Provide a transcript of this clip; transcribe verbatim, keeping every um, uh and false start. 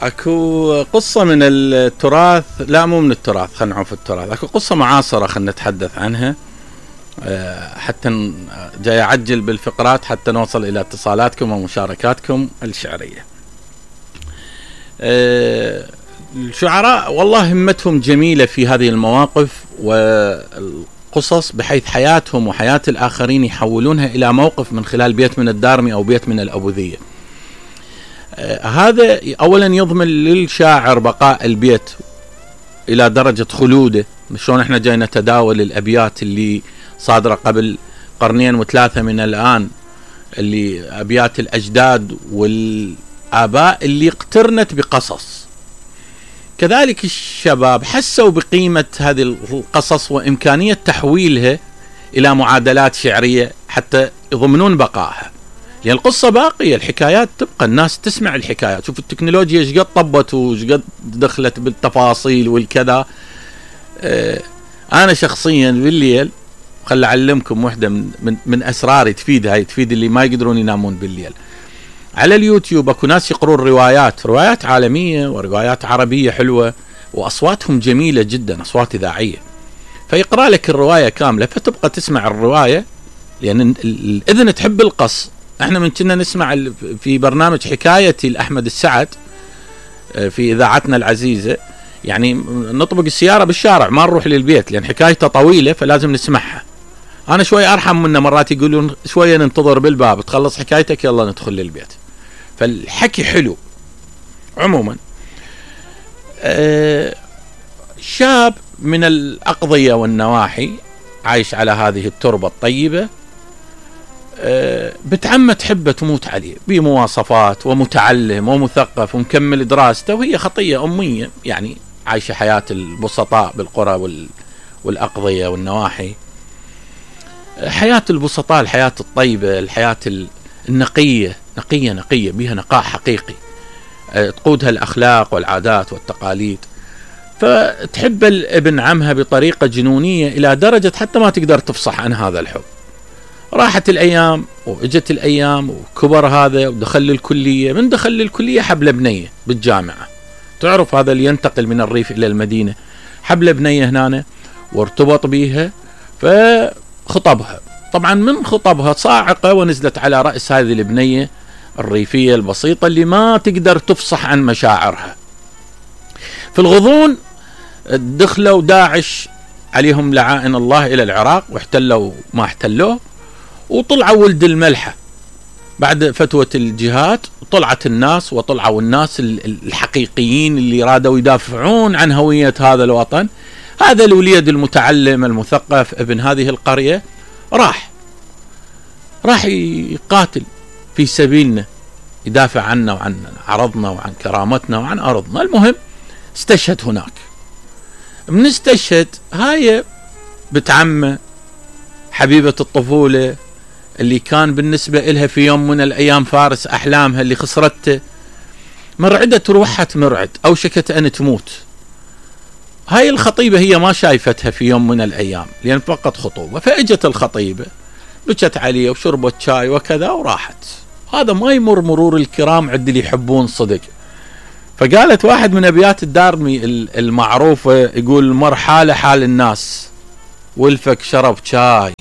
اكو قصة من التراث، لا مو من التراث، خلينا نعوف التراث. اكو قصة معاصرة خلينا نتحدث عنها حتى جاي اعجل بالفقرات حتى نوصل الى اتصالاتكم ومشاركاتكم الشعرية. الشعراء والله همتهم جميلة في هذه المواقف والقصص، بحيث حياتهم وحياة الآخرين يحولونها إلى موقف من خلال بيت من الدارمي أو بيت من الأبوذية. آه هذا أولا يضمن للشاعر بقاء البيت إلى درجة خلوده. شلون احنا جاي نتداول الأبيات اللي صادرة قبل قرنين وثلاثة من الآن، اللي أبيات الأجداد والآباء اللي اقترنت بقصص. كذلك الشباب حسوا بقيمة هذه القصص وإمكانية تحويلها إلى معادلات شعرية حتى يضمنون بقائها، لأن القصة باقية، الحكايات تبقى، الناس تسمع الحكايات. شوف التكنولوجيا ايش قد طبت وايش قد دخلت بالتفاصيل والكذا. اه أنا شخصيا بالليل خل أعلمكم واحدة من, من, من أسراري تفيد، هاي تفيد اللي ما يقدرون ينامون بالليل. على اليوتيوب اكو ناس يقرون روايات روايات عالمية وروايات عربية حلوة واصواتهم جميلة جدا، اصوات اذاعية، فيقرأ لك الرواية كاملة فتبقى تسمع الرواية، لان الاذن تحب القص. احنا من كنا نسمع في برنامج حكايتي لأحمد السعد في اذاعتنا العزيزة، يعني نطبق السيارة بالشارع ما نروح للبيت لان حكايته طويلة فلازم نسمعها. انا شوي ارحم منه، مرات يقولون شوية ننتظر بالباب تخلص حكايتك يلا ندخل للبيت. فالحكي حلو. عموما أه شاب من الأقضية والنواحي عايش على هذه التربة الطيبة، أه بتعمة تحبه تموت عليه بمواصفات، ومتعلم ومثقف ومكمل دراسته، وهي خطية أمية يعني عايشة حياة البسطاء بالقرى والأقضية والنواحي. حياة البسطاء الحياة الطيبة، الحياة النقية نقية نقية بها نقاء حقيقي تقودها الأخلاق والعادات والتقاليد. فتحب الابن عمها بطريقة جنونية إلى درجة حتى ما تقدر تفصح عن هذا الحب. راحت الأيام وإجت الأيام وكبر هذا ودخل الكلية. من دخل الكلية حبل بنية بالجامعة، تعرف هذا اللي ينتقل من الريف إلى المدينة، حبل بنية هنا وارتبط بيها فخطبها. طبعا من خطبها صاعقة ونزلت على رأس هذه البنية الريفية البسيطة اللي ما تقدر تفصح عن مشاعرها. في الغضون دخلوا داعش عليهم لعائن الله إلى العراق واحتلوا ما احتلوه، وطلعوا ولد الملحة بعد فتوى الجهاد. طلعت الناس وطلعوا الناس الحقيقيين اللي رادوا يدافعون عن هوية هذا الوطن. هذا الوليد المتعلم المثقف ابن هذه القرية راح راح يقاتل في سبيلنا، يدافع عنا وعن عرضنا وعن كرامتنا وعن أرضنا. المهم استشهد هناك. من استشهد هاي بتعمه حبيبة الطفولة اللي كان بالنسبة إلها في يوم من الأيام فارس أحلامها اللي خسرته، مرعدة روحها مرعد أو شكت أن تموت. هاي الخطيبة هي ما شايفتها في يوم من الأيام لأن فقط خطوبة، فأجت الخطيبة بكت عليه وشربت شاي وكذا وراحت. هذا ما يمر مرور الكرام عند اللي يحبون صدق. فقالت واحد من أبيات الدارمي المعروفة، يقول: مر حال حال الناس والفك شرب شاي